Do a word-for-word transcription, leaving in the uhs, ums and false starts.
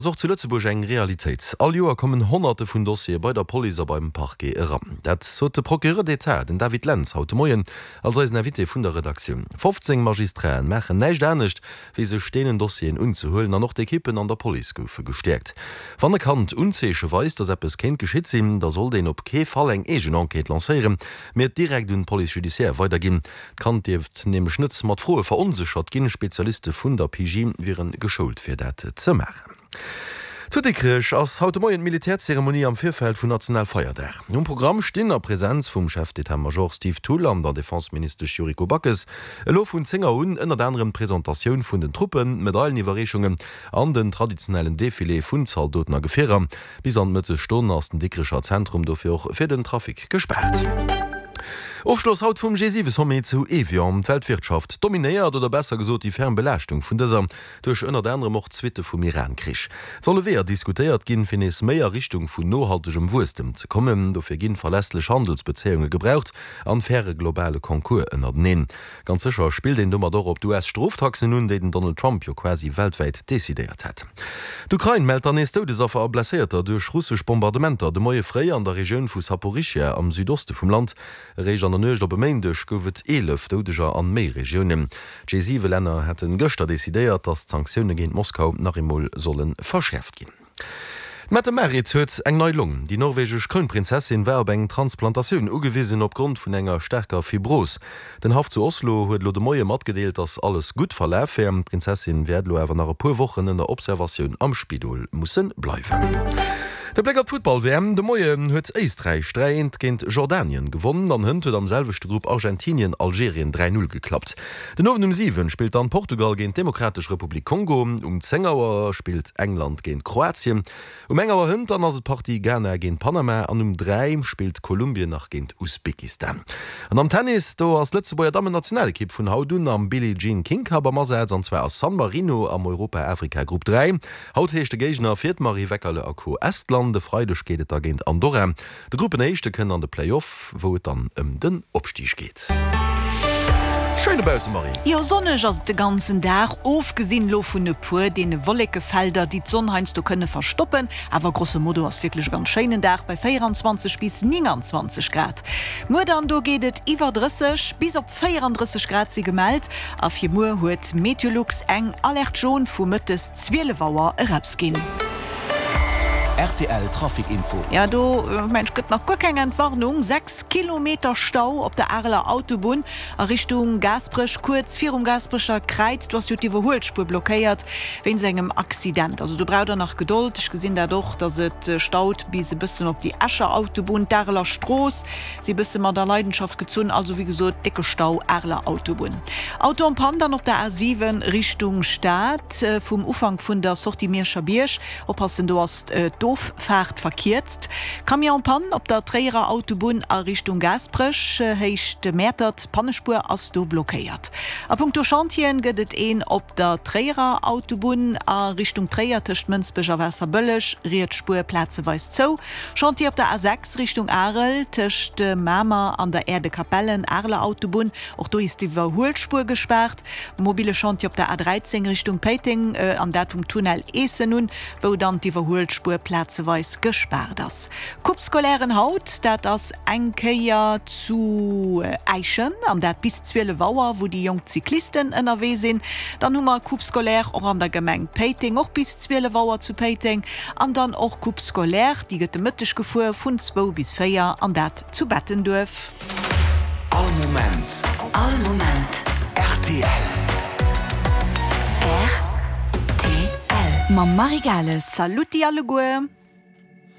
Ass och zu Lëtzebuerg eng Realitéit. All Joer kommen Honnerte vun Dossiere bei der Police a beim Parquet eran. Dat sot de Procureur d'État, den David Lentz, haut de Moien als eisen Invité vun der Redaktioun. fofzéng Magistraten maachen näischt anescht, wéi sech deenen Dossieren unzehuelen an och d'Ekippen an der Police goufe gestäerkt. Wann e Kand Unzeeche weist, datt eppes kéint geschitt sinn, da sollt een op kee Fall eng eegen Enquête lancéieren, mee et direkt un d'Police judiciaire weiderginn. D'Kand dierft nämlech net mat Froe veronséchert ginn. Spezialiste vun der P J wiere geschoult fir dat ze maachen. Zu Dikrech ass haut de Moien d'Militärzeremonie am Virfeld vun Nationalfeierdag. Um Programm stinn a Presenz vum Chef d'état-major Steve Thull an der Defenseministesch Yuriko Backes elo vun zéng Auer un ënnert anerem d'Presentatioun vun den Truppen, Medaileniwwerreechungen an den traditionellen Defilé vun Zaldoten a Gefierer. Bis an d'Mëttesstonn ass den Dikrecher Zentrum dofir och fir den Trafic gespaart. Ofschloss haut vum G siwe Sommet zu Evian. D'Weltwirtschaft dominéiert, oder besser gesot déi ferm Belaaschtung vun dëser, duerch ënnert anerem och d'Suitte vum Iran-Krich. Et solle Weeër diskutéiert ginn, fir nees méi a Richtung vun nohaltegem Wuesstem ze kommen. Dofir ginn verlässlech Handelsbezéiunge gebraucht an faire globale Concours ënnerteneen. Ganz sécher spillt een domat och op d'U S-Stroftaxen un, déi den Donald Trump jo quasi weltwäit decidéiert hat. D'Ukrain mellt dann nees Doudesaffer a Blesséierter duerch russesch Bombardementer de Moie fréi an der Regioun vu Saporischschja am Südoste vum Land. Eréischt an der Nuecht op e Méindeg gouf et eelef Doudeger an méi Regiounen. D'G siwe Länner hätte gëschter decidéiert, datt d'Sanktioune géint Moskau nach eemol solle verschäerft ginn. D'Mette-Marit huet eng nei Long. Déi norwegesch Krounprinzessin war op eng Transplantatioun ugewisen opgrond vun enger staarker Fibros. Den Haff zu Oslo huet elo de Moie matgedeelt, datt alles gutt verlaf wär. D'Prinzessin wäert elo awer nach e puer Wochen ënner Observatioun am Spidol musse bleiwen. De Bléck op d'Futtball-W M: De Moien huet Éisträich dräi eent géint Jordanien gewonnen an hënt huet am selwechte Grupp Argentinien Algerien dräi null geklappt. Den Owend um siwen spillt dann Portugal géint d'Demokratesch Republik Kongo, um zéng Auer spillt England géint Kroatien, um eng Auer hënt dann ass et d'Partie Ghana géint Panama an um dräi spillt Kolumbien nach géint Usbekistan. An am Tennis, do ass d'Lëtzebuerger Dammen-Nationalekipp vun haut un am Billie Jean King Cup am Asaz an zwar a San Marino am Europa-Afrika Grupp dräi. Haut heescht de Géigner fir d'Marie Weckerle a Co. Estland, e Freideg geet et da géint Andorra. De Gruppenéischte kënnt an de Play-Off, wou et dann ëm den Opstig geet. Schéin dobausse, Marie. Jo, sonneg ass et de ganzen Dag, ofgesinn elo vun e puer deene Wollekefelder, déi d'Sonn heiansdo kënne verstoppen. Awer grosso modo ass wierklech e ganz schéinen Dag bei véieranzwanzeg bis nénganzwanzeg Grad. Muer dann, do geet et iwwer drësseg, bis op véierandrësseg Grad si gemellt. A fir muer huet Meteolux eng Alerte jaune vu mëttes zwielef Auer erausginn. R T L Trafic Info. Ja, do mensch gëtt nach guer keng Entwarnung. sechs Kilometer Stau op der Areler Autobunn a Richtung Gaasperech, kuerz virum Gaasperecher Kräiz. Do ass jo d'Iwwerhuelspuer blockéiert wéinst engem Accident. Also do braucht der nach Gedold. Ech gesinn dat och, dass et staut bis e bëssen op déi Escher Autobunn. D'Areler Strooss si bësse mat a Leidenschaft gezunn. Also wéi gesot, décke Stau Areler Autobunn. Auto en panne dann op der A siwen Richtung Stad vum Ufank vun der Sortie Mierscher Bierg. Oppassen, do ass d'Offaart verkierzt. Camion en panne op der Tréierer Autobunn a Richtung Gaasperech, Héicht Mäertert, d'Pannespuer ass do blockéiert. A punkto Chantieren gëtt et een op der Tréierer Autobunn a Richtung Tréier tëscht Mënsbech a Waasserbëlleg, riets Spuer plazeweis zou. Chantier op der A sechs Richtung Arel tëscht Mamer an der Aire de Capellen, Areler Autobunn, och do is d'Iwwerhuelspuer gespaart. Mobile Chantier op der A dräizéng Richtung Péiteng, an dat vum Tunnel Eessen un, wou dann d'Iwwerhuelspuer plazeweis gespaart ass. Coupe scolairen haut, dat ass eng Kéier zu Äischen, an dat bis zwielef Auer, wou déi jonk Cyclisten ënnerwee sinn. Dann hu mer Coupe scolaire och an der Gemeng Péiteng, och bis zwielef Auer zu Péiteng. An dann och Coupe scolaire, déi gëtt de Mëtteg gefuer vun zwou bis véier, an dat zu Bettenduerf. All Moment. All Moment. R T L. R T L. Mam Marie Gales. Saluti alleguer.